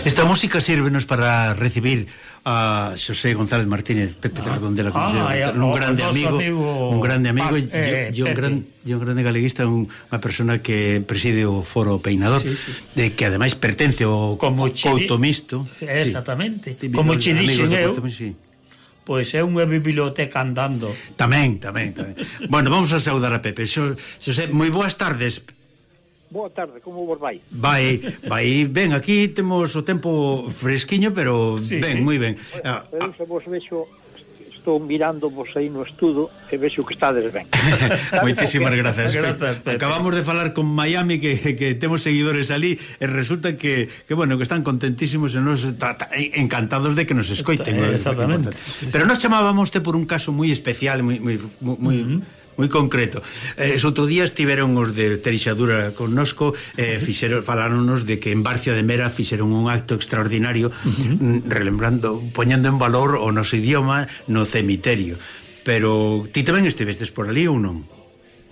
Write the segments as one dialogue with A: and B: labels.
A: Esta música sírvenos para recibir a Xosé González Martínez, Pepe de Redondela, un grande amigo e un grande galeguista, unha persona que preside o Foro Peinador, que ademais pertence ao Couto Misto.
B: Exactamente, como che dixen eu, pois é unha biblioteca andando.
A: Tamén. Bueno, vamos a saudar a Pepe. Xosé, moi boas tardes.
C: Boa tarde, como vos vai?
A: Vai ben, aquí temos o tempo fresquiño, pero ben, moi ben.
C: Eu se vos vexo, estou mirando vos aí no estudo e vexo que estades ben.
A: Moitísimas grazas. Acabamos de falar con Miami que temos seguidores ali e resulta que bueno, que están contentísimos e nos encantados de que nos escoiten.
B: Exactamente.
A: Pero nos chamábamos por un caso moi especial, moi concreto. Outro día estiveron os de Terixadura connosco, faláronos de que en Barcia de Mera fixeron un acto extraordinario, relembrando, poñendo en valor o noso idioma no cemiterio. Pero ti tamén estivestes por ali ou non?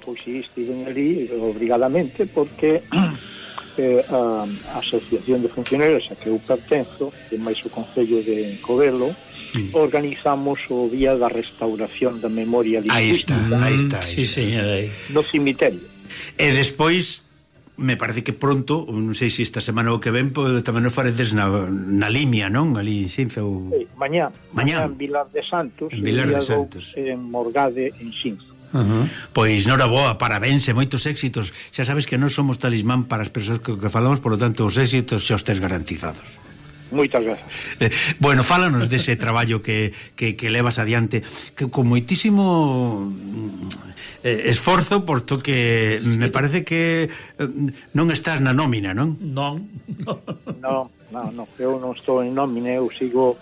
C: Pois si, estiven ali obrigadamente porque a Asociación de Funcionarios a que eu pertenzo, e máis o Concello de Covelo, organizamos o Día da Restauración da Memoria Lingüística.
A: Aí está.
B: Sí, señor.
C: No cemiterio.
A: E despois, me parece que pronto, non sei se esta semana ou que ven, tamén nos faredes na Limia, non? Ali en Xinzo ou...
C: Mañá en Vilar de Santos, en Morgade en Xinzo.
A: Pois noraboa, parabéns e moitos éxitos. Xa sabes que non somos talismán para as persoas que falamos, por lo tanto os éxitos xa os tes garantizados.
C: Moitas grazas.
A: Bueno, fálanos dese traballo que levas adiante, que con moitísimo esforzo, porto que me parece que non estás na nómina, non?
B: Non,
C: eu non estou en nómina, eu sigo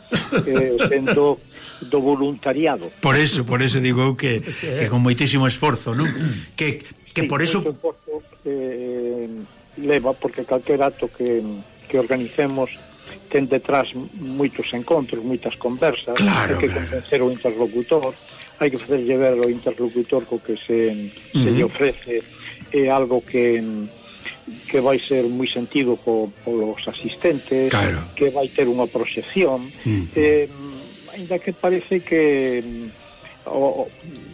C: sendo do voluntariado.
A: Por eso digo eu que con moitísimo esforzo, non? Que por eso
C: leva, porque calquer acto que organicemos ten detrás moitos encontros, moitas conversas, hai que convencer o interlocutor, hai que facerlle ver ao interlocutor co que se lle ofrece é algo que vai ser moi sentido polos asistentes, que vai ter unha proxección, ainda que parece que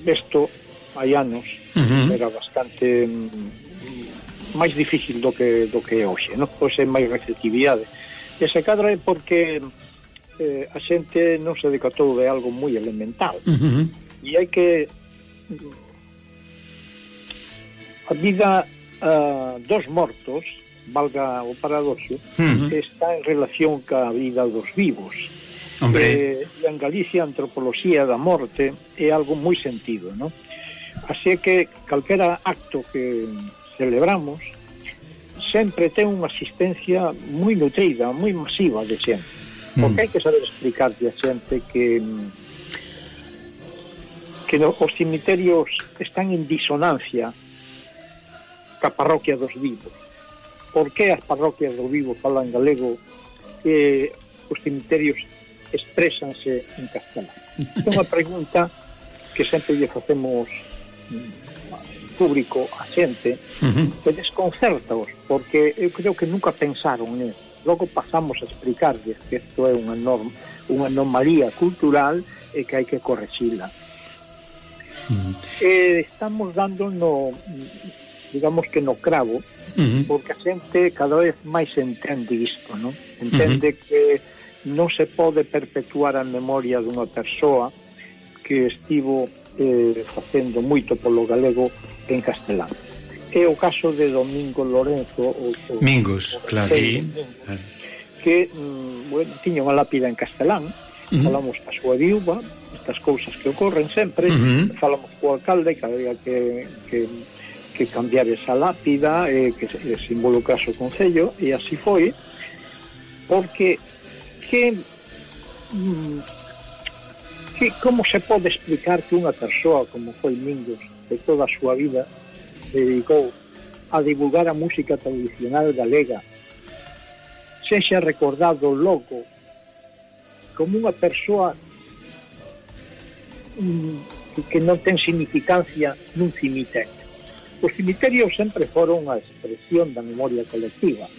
C: isto hai anos era bastante máis difícil do que é hoxe, non? Hoxe é máis receptividade. Ese cadro é porque a xente non se decatou de algo moi elemental, e hai que a vida dos mortos, valga o paradoxo, está en relación ca vida dos vivos. E en Galicia a antropoloxía da morte é algo moi sentido, non? Así que calquera acto que celebramos sempre ten unha asistencia moi nutrida, moi masiva de xente, porque hai que saber explicarle a xente que os cemiterios están en disonancia ca parroquia dos vivos. Por que as parroquias dos vivos falan galego e os cemiterios exprésanse en castelán? É unha pregunta que sempre lle facemos público a xente, que desconcertaos, porque eu creo que nunca pensaron nisso. Logo pasamos a explicarles que isto é unha anomalía cultural e que hai que corregila. Estamos dando digamos que no cravo, porque a xente cada vez máis entende isto, non? Entende que non se pode perpetuar a memoria dunha persoa que estivo facendo moito polo galego en castelán. É o caso de Domingo Lorenzo
A: Mingos, claro,
C: que tiña unha lápida en castelán. Falamos da súa viúva, estas cousas que ocorren sempre, falamos co alcalde que había que cambiar esa lápida, que se involucrase o Concello, e así foi, porque como se pode explicar que unha persoa como foi Mingos, de toda a súa vida se dedicou a divulgar a música tradicional galega, sexa recordado logo como unha persoa que non ten significancia nun cemiterio? Os cemiterios sempre foron a expresión da memoria colectiva,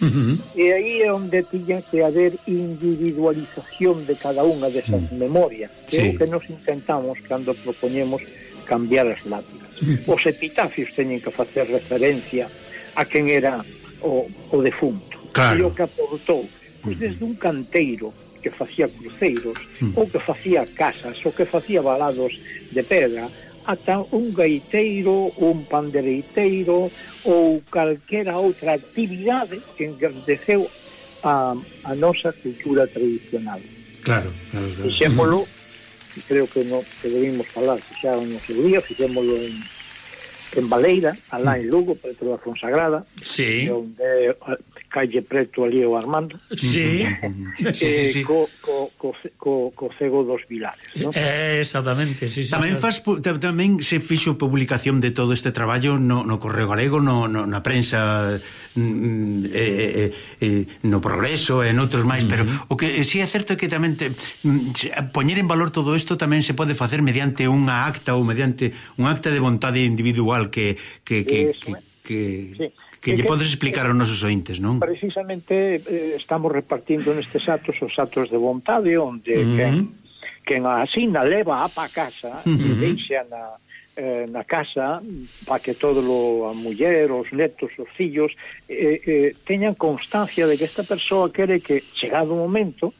C: e aí é onde tiña que haber individualización de cada unha desas memorias, que é o que nos intentamos cando propoñemos cambiar as lápidas. Os epitafios teñen que facer referencia a quen era o defunto, e o que aportou, pois desde un canteiro que facía cruceiros, ou que facía casas, ou que facía valados de pedra, ata un gaiteiro, un pandereiteiro ou calquera outra actividade que engrandeceu a nosa cultura tradicional.
A: Claro.
C: Fixémolo, creo que debimos falar, xa no seu día, fixémolo en Baleira, alá en Lugo, preto da Fonsagrada, onde calle preto ali o Armando, co cego dos Vilares, non?
B: Exactamente,
A: tamén se fixo publicación de todo este traballo no Correo Galego, na prensa, no Progreso e noutros máis, pero o que si é certo é que tamén poñer en valor todo isto tamén se pode facer mediante unha acta ou mediante un acta de vontade individual que lle podes explicar aos nosos ointes, non?
C: Precisamente estamos repartindo nestes atos os atos de vontade, onde quen asina leva a pa casa e deixa na casa para que todo a muller, os netos, os fillos teñan constancia de que esta persoa quere que, chegado o momento,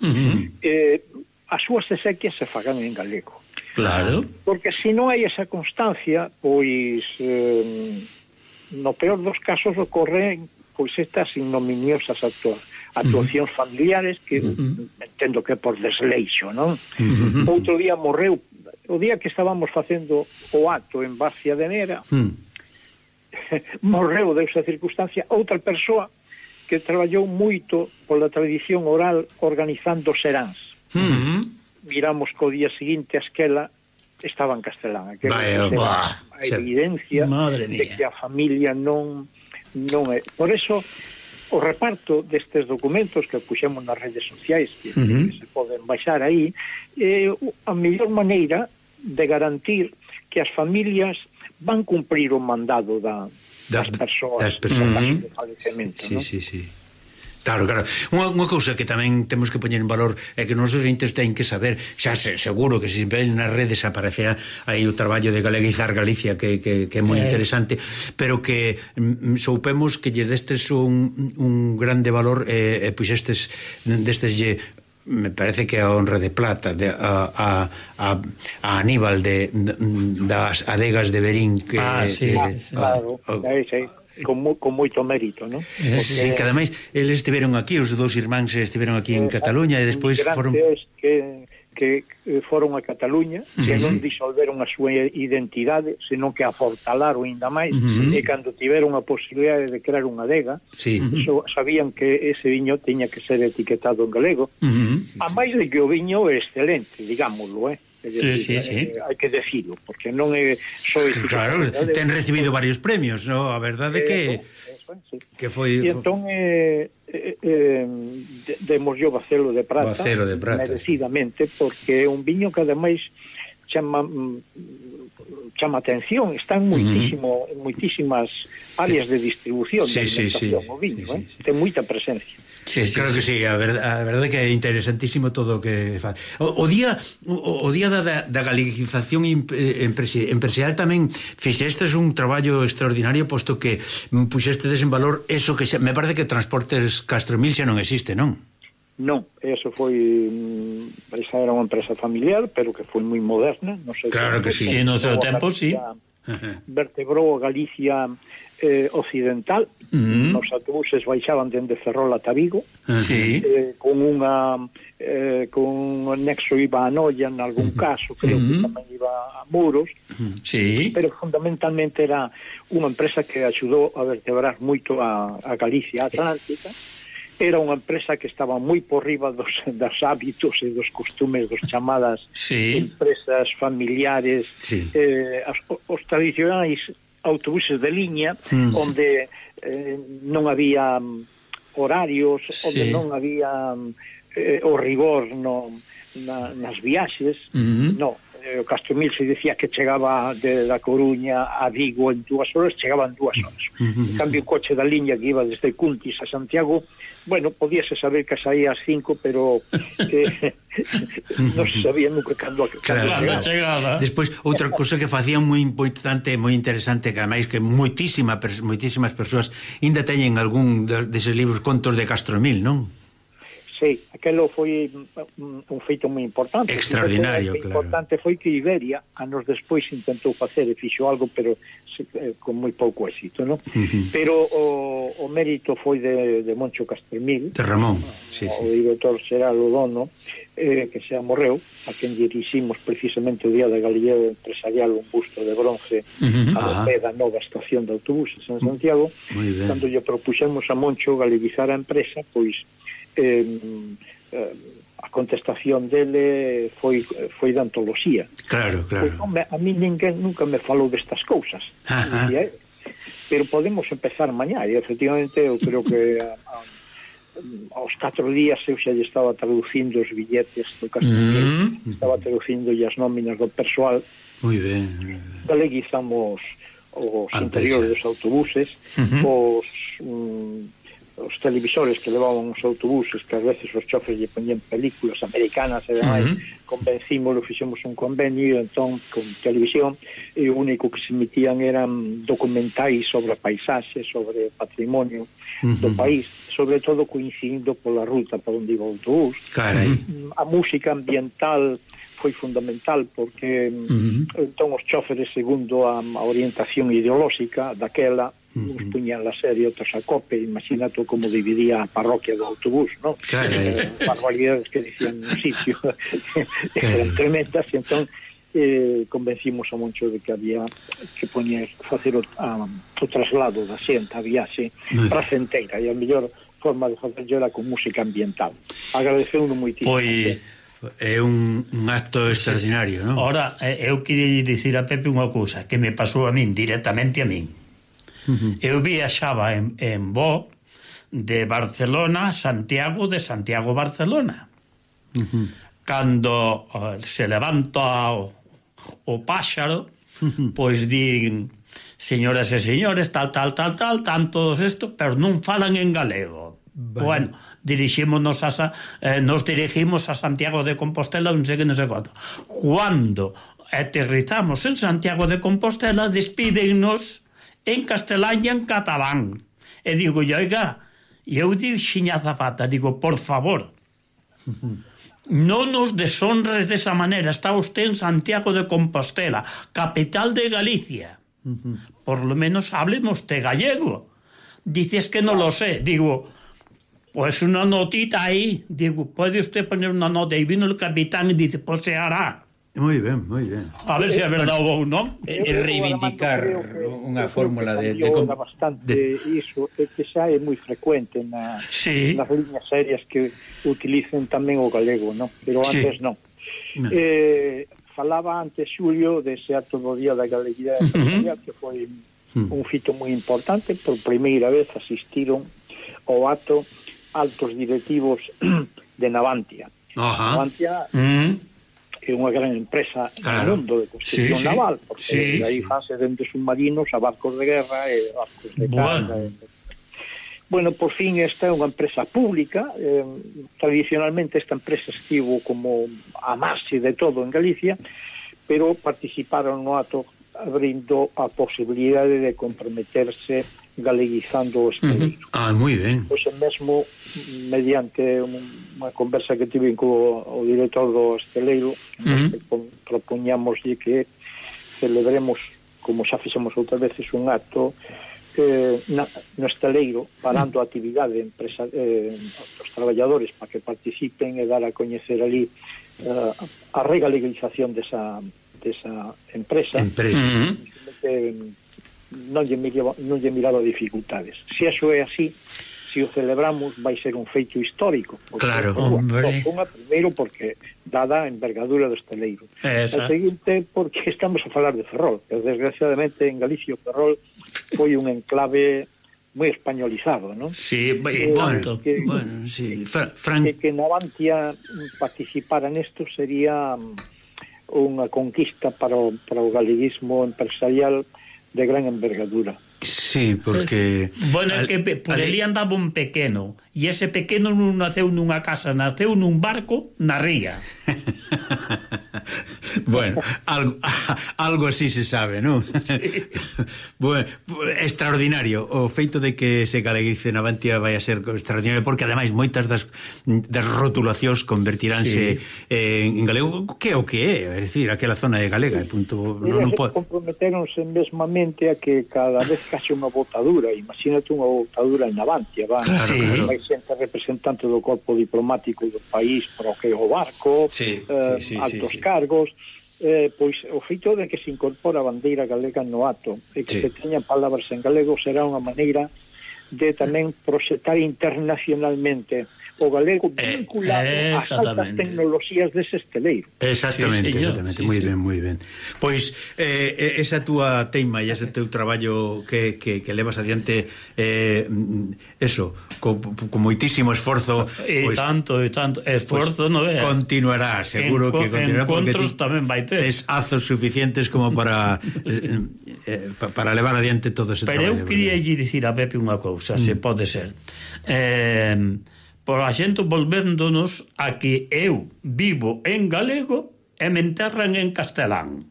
C: as súas exequias se fagan en galego.
B: Claro.
C: Porque se non hai esa constancia, pois no peor dos casos ocorren pois estas ignominiosas actuacións familiares que entendo que por desleixo, non? Outro día morreu, o día que estábamos facendo o acto en Barcia de Nera, morreu desa circunstancia outra persoa que traballou moito pola tradición oral organizando seráns. Miramos que o día seguinte a esquela estaba en castelán. A evidencia de que a familia non é. Por eso, o reparto destes documentos que puxemos nas redes sociais, que se poden baixar aí, é a mellor maneira de garantir que as familias van cumprir o mandado das persoas de falecemento.
A: Sí. Claro. Unha cousa que tamén temos que poñer en valor é que os nosos entes teñen que saber, xa seguro que se ven nas redes aparecerá aí o traballo de galeguizar Galicia que é moi interesante, pero que soupemos que lle destes un grande valor, pois destes me parece que a honra de plata a Aníbal das adegas de Berín que
C: claro, con moito mérito, non?
A: Sí, que ademais eles estiveron aquí, os dous irmáns estiveron aquí en Cataluña e despois foron
C: que foron a Cataluña, que non disolveron a súa identidade, senón que a fortalaron ainda máis, e cando tiveron a posibilidade de crear unha adega, sabían que ese viño tiña que ser etiquetado en galego, a máis de que o viño é excelente, digámoslo, hai que decirlo, porque non é só
A: claro, ten recibido varios premios, no? A verdade que foi
C: e entón demos yo Bacelo de Prata merecidamente, porque é un viño que ademais chama atención, está en moitísimas áreas de distribución de alimentación, o viño, ten moita presencia.
A: Claro que sí, a verdade que é interesantísimo todo o que faz. O día da galeguización empresarial tamén fixestes un traballo extraordinario, posto que puxestes en valor eso que me parece que Transportes Castromil xa non existe, non?
C: Non, eso foi esa era unha empresa familiar, pero que foi moi moderna, non sei.
A: Claro que sí.
B: No seu tempo, sí.
C: Vertebrou a Galicia occidental, os autobuses baixaban dende Ferrol ata Vigo, con un nexo iba a Noia en algún caso, creo que tamén iba a Muros, pero fundamentalmente era unha empresa que axudou a vertebrar moito a Galicia Atlántica. Era unha empresa que estaba moi por riba dos hábitos e dos costumes dos chamadas empresas familiares, os tradicionais autobuses de liña, onde non había horarios, onde non había o rigor nas viaxes, O Castromil se decía que chegaba da Coruña a Vigo en 2 horas, chegaban 2 horas. En cambio, o coche da liña que iba desde Cuntis a Santiago, bueno, podíase saber que saía ás 5, pero non se sabía nunca cando
B: chegaba.
A: Despois, outra cousa que facían moi importante, moi interesante, que ademais que moitísimas persoas ainda teñen algún deses libros, contos de Castromil, non?
C: Sí, aquelo foi un feito moi importante.
A: Extraordinario, claro.
C: O importante foi que Iberia, anos despois, intentou facer e fixo algo, pero con moi pouco éxito, non? Pero o mérito foi de Moncho Castromil,
A: de Ramón,
C: o director xeral, o dono, que xa morreu, a quen diriximos precisamente o día da Galería Empresarial un busto de bronce ao pé da nova estación de autobuses en Santiago. Cando lle propuxemos a Moncho galeguizar a empresa, pois a contestación dele foi de antoloxía.
A: Claro.
C: Pues, a mí ninguén nunca me falou destas cousas. Pero podemos empezar mañá, e efectivamente eu creo que aos 4 días eu xa lle estaba traducindo os billetes do Castromil, estaba traducindo as nóminas do persoal.
A: Moi ben.
C: Galeguizamos os interiores dos autobuses, os televisores que levaban os autobuses, que ás veces os chofres lle poñían películas americanas e demais, convencímolo, fixemos un convenio entón con televisión, e o único que se emitían eran documentais sobre paisaxe, sobre patrimonio do país, sobre todo coincidindo pola ruta por onde iba o autobús. A música ambiental foi fundamental porque entón os choferes, segundo a orientación ideolóxica daquela, uns puñan la serie, outros a cope. Imagínate como dividía a parroquia do autobús, non? Barbaridades que dicían no sitio eran tremendas, e entón convencimos a Moncho de que había que facer o traslado da xente, a viaxe pracenteira, e a mellor forma de facerlo era con música ambiental. Agradeceu-no moitísimo.
A: Pois é un acto extraordinario, non?
B: Ora, eu queria dicir a Pepe unha cousa que me pasou a min, directamente a min. Eu viaxaba en voo de Barcelona a Santiago, de Santiago a Barcelona. Cando se levanta o páxaro, pois din, señoras e señores, tal, todos isto, pero non falan en galego. Bueno, nos dirigimos a Santiago de Compostela, non sei quanto. Cuando aterrizamos en Santiago de Compostela, despídennos en castelán e en catalán. E digo, oiga, eu dixiña Zapata, digo, por favor, non nos deshonres desa maneira, está usted en Santiago de Compostela, capital de Galicia, por lo menos hablemos de gallego. Dices que non lo sé, digo, pues una notita aí, digo, puede usted poner una nota, y vino el capitán y dice, pues se hará.
A: Moi ben, moi ben.
B: A ver se é verdade ou non.
A: É reivindicar unha fórmula de
C: bastante iso, que xa é moi frecuente nas liñas aéreas que utilicen tamén o galego, non? Pero antes non. Falaba antes Xulio dese acto do Día da Galeguidade Empresarial, que foi un fito moi importante. Por primeira vez asistiron ao acto altos directivos de Navantia. Navantia é unha gran empresa no mundo de construcción naval, porque aí fase dende submarinos a barcos de guerra e barcos de carga. Bueno, por fin esta é unha empresa pública. Tradicionalmente esta empresa estivo como a marxe de todo en Galicia, pero participaron no acto abrindo a posibilidade de comprometerse galeguizando o esteleiro.
A: Moi ben.
C: Pois mesmo mediante unha conversa que tive co director do esteleiro, propoñámoslle que celebremos, como xa fixemos outras veces, un acto no esteleiro, parando a actividade dos traballadores para que participen e dar a coñecer ali a regalización desa empresa. Non lle miraba dificultades. Se eso é así, se o celebramos, vai ser un feito histórico.
A: Claro,
C: hombre. Primeiro porque dada a envergadura do esteleiro. A seguinte, porque estamos a falar de Ferrol, que desgraciadamente en Galicia o Ferrol foi un enclave moi españolizado, non?
B: Sí, tanto.
C: Que Navantia participara nesto sería unha conquista para o galeguismo empresarial de gran envergadura.
A: Sí, porque...
B: Bueno, que por ali andaba un pequeno, e ese pequeno non naceu nunha casa, naceu nun barco na ría.
A: Bueno, algo así se sabe, non? Sí. Bueno, extraordinario o feito de que se galeguice na Bantia vai a ser extraordinario, porque ademais moitas das rotulacións convertiránse en galego, que é o que é, é dicir, aquela zona de galega, punto, non pode...
C: Comprometeronse mesmamente a que cada vez case unha botadura, imagínate unha botadura en Navantia,
A: claro.
C: Vai xente representante do corpo diplomático do país para o que é o barco, altos cargos, pois o feito de que se incorpora a bandeira galega no ato e que se teñan palabras en galego será unha maneira de tamén proxectar internacionalmente o galego vinculado ás altas tecnoloxías dese esteleiro.
A: Exactamente, exactamente, moi ben. Pois esa túa teima e ese teu traballo que levas adiante eso, con moitísimo esforzo,
B: e tanto esforzo, non é?
A: Continuará, seguro que continuará, porque
B: tamén vai ter.
A: Tes azos suficientes como para levar adiante todo ese traballo.
B: Pero eu quería dicir a Pepe unha cousa, se pode ser. Por a xente volvéndonos a que eu vivo en galego e me enterran en castelán.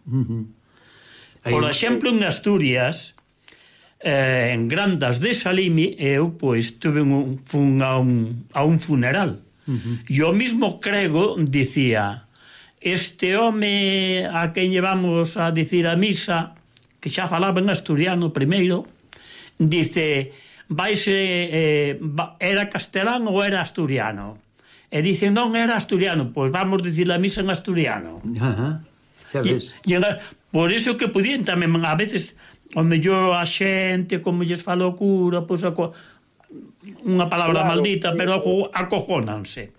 B: Por exemplo, en Asturias, en Grandas de Salimi, eu pois fun a un funeral. E o mismo crego dicía: este home a quen llevamos a dicir a misa, que xa falaba en asturiano primeiro, dice... era castelán ou era asturiano? E dicen, non, era asturiano. Pois vamos dicir a misa en asturiano.
A: Sabes?
B: Por iso que podían tamén a veces o mellor a xente como lles fala o cura, pois unha palabra maldita, pero acojónanse.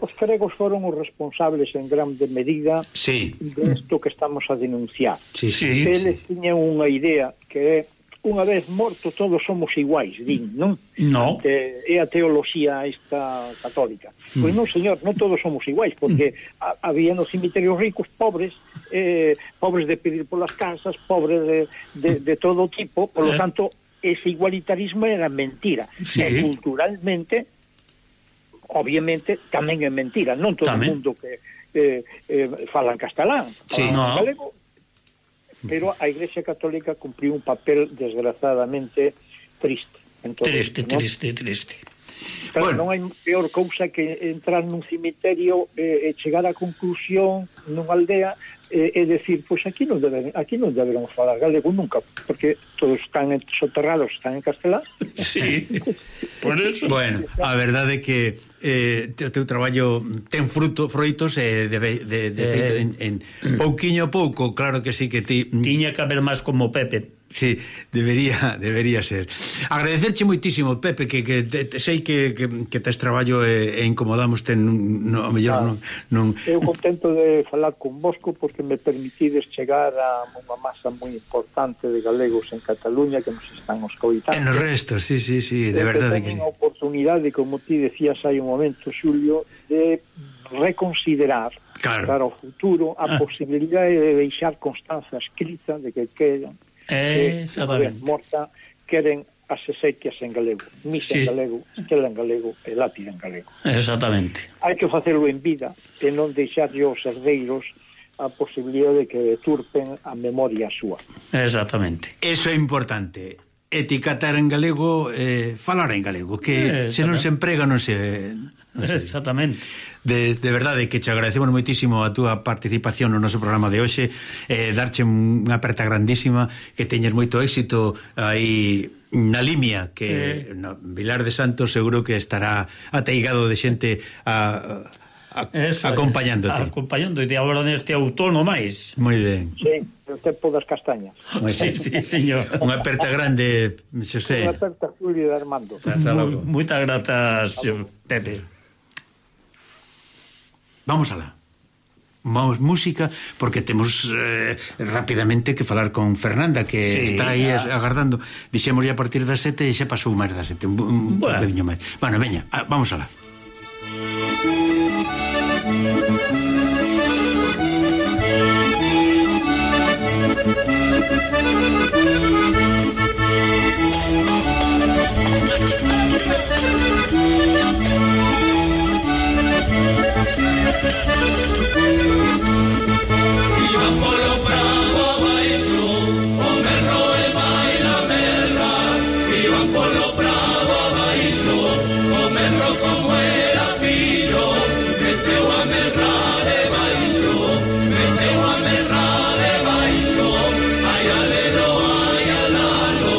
C: Os gregos foron os responsables en grande medida de isto que estamos a denunciar. Eles tiñan unha idea que é: unha vez morto todos somos iguais, din, non?
B: No.
C: É a teoloxía esta católica. Pois non, señor, non todos somos iguais, porque había nos cemiterios ricos pobres, pobres de pedir polas casas, pobres de todo tipo, por lo tanto, ese igualitarismo era mentira. E culturalmente, obviamente, tamén é mentira. Non todo o mundo que falan castelán, falan galego, pero a Iglesia Católica cumpriu un papel desgraciadamente triste.
B: Triste.
C: Claro, non hai peor cousa que entrar nun cemiterio e chegar á conclusión nunha aldea e decir, pois aquí non deberemos falar galego nunca, porque todos están soterrados, están en castelán.
B: Sí, por eso.
A: Bueno, a verdade é que o teu traballo ten froitos de feito en pouquiño a pouco, claro que sí que ti...
B: Tiña que haber máis como Pepe.
A: Sí, debería ser. Agradecerche moitísimo, Pepe, que sei que tes traballo e incomodamoste a mellor non...
C: Eu contento de falar con vosco porque me permitides chegar a unha masa moi importante de galegos en Cataluña que nos están escoitando.
A: En os restos, sí, de verdade que sí.
C: Ten unha oportunidade, como ti decías hai un momento, Xulio, de reconsiderar para o futuro a posibilidade de deixar constancia escrita de que quedan morta, queren as exequias en galego, misa en galego, estela en galego e lápida en galego.
B: Exactamente.
C: Hai que facelo en vida e non deixarlle aos herdeiros a posibilidade de que deturpen a memoria súa.
B: Exactamente.
A: Eso é importante. Etiquetar en galego, falar en galego, que se non se emprega non se...
B: Exactamente.
A: De verdade que te agradecemos moitísimo a túa participación no noso programa de hoxe, darche unha aperta grandísima, que teñes moito éxito aí na Limia, que no Vilar de Santos seguro que estará ateigado de xente acompañándote.
B: Acompañándote agora neste outono máis.
A: Moi ben.
C: Sí, o tempo das castañas.
B: Sí, señor.
A: Unha aperta grande, Xosé.
C: Unha aperta, Julio de Armando.
B: Moitas grazas, Pepe.
A: Vamos alá. Vamos música, porque temos rapidamente que falar con Fernanda, que está aí agardando. Dixemos ya a partir das 7 e xa pasou máis das 7, un bocadinho máis. Bueno, veña, vamos alá.
D: Iban polo prado abaixo, o merro e baila merra. Iban polo prado abaixo, o merro como era pillo, meteu a merra debaixo, meteu a merra debaixo, ai alelo, ai alalo.